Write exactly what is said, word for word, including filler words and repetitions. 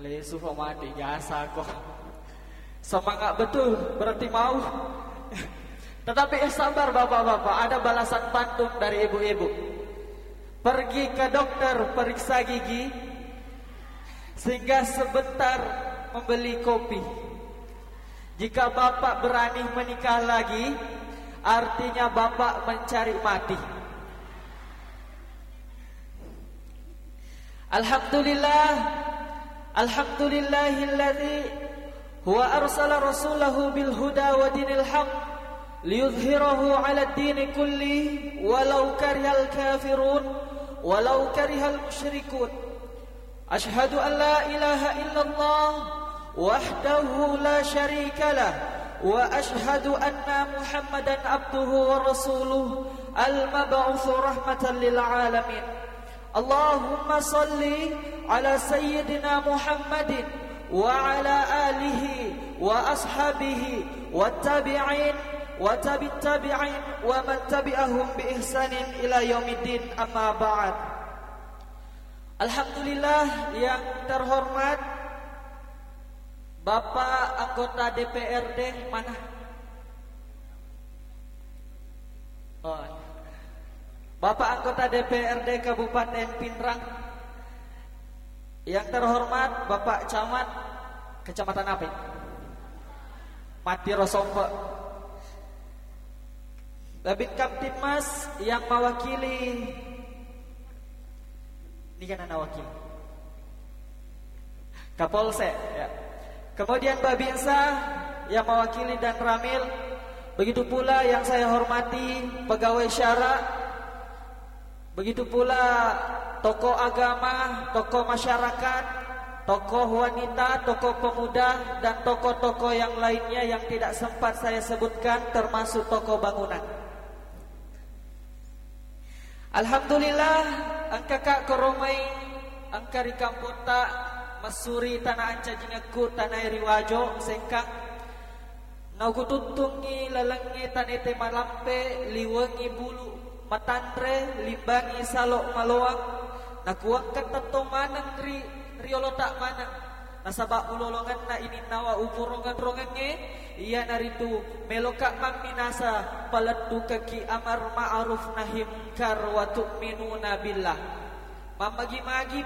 Lesu mati jasa kok. Semangat betul, berarti mau. Tetapi, eh, sabar bapak-bapak, ada balasan pantun dari ibu-ibu. Pergi ke dokter periksa gigi, singgah sebentar membeli kopi. Jika bapak berani menikah lagi, artinya bapak mencari mati. Alhamdulillah. Alhamdulillahilladzi huwa arsala rasulahu bil huda wa dinil haq liyudhhirahu 'ala dini kulli walau karihal kafirun walau karihal musyrikun. Asyhadu an la ilaha illallah wahdahu la syarika lah, wa asyhadu anna Muhammadan abduhu wa rasuluh, al-mab'uts rahmatan lil alamin. Allahumma salli ala sayyidina Muhammadin wa ala alihi wa ashabihi wa tabi'in wa tabi'it tabi'in wa man tabi'ahum bi ihsanin ila yaumiddin, amma ba'd. Alhamdulillah, yang terhormat Bapak anggota D P R D mana? Oh. Bapak anggota D P R D Kabupaten Pinrang. Yang terhormat Bapak Camat, Kecamatan apa ini? Mati Rosompe. Babin Kamtibmas yang mewakili, ini kan anak wakil. Kapolsek, ya. Kemudian Babinsa yang mewakili dan Ramil, begitu pula yang saya hormati pegawai syara, begitu pula tokoh agama, tokoh masyarakat, tokoh wanita, tokoh pemuda, dan tokoh-tokoh yang lainnya yang tidak sempat saya sebutkan, termasuk tokoh bangunan. Alhamdulillah, engkaka koromai, engka ri kampotta, massuri tana ancajingekku, tanae ri Wajo, Sengkang. Naugututtungngi lalengnge tanete malampe, liwengngi bulu matanre, limbangngi salo maloang, nakuwengka tettong maneng ri riolota maneng. Nasaba ulolongenna ininnawa upurongen-rongengnge, iyanaritu meloka mamminasa paleddukekki amar ma'ruf nahi mungkar wa tu'minuna billah. Mammagi-magi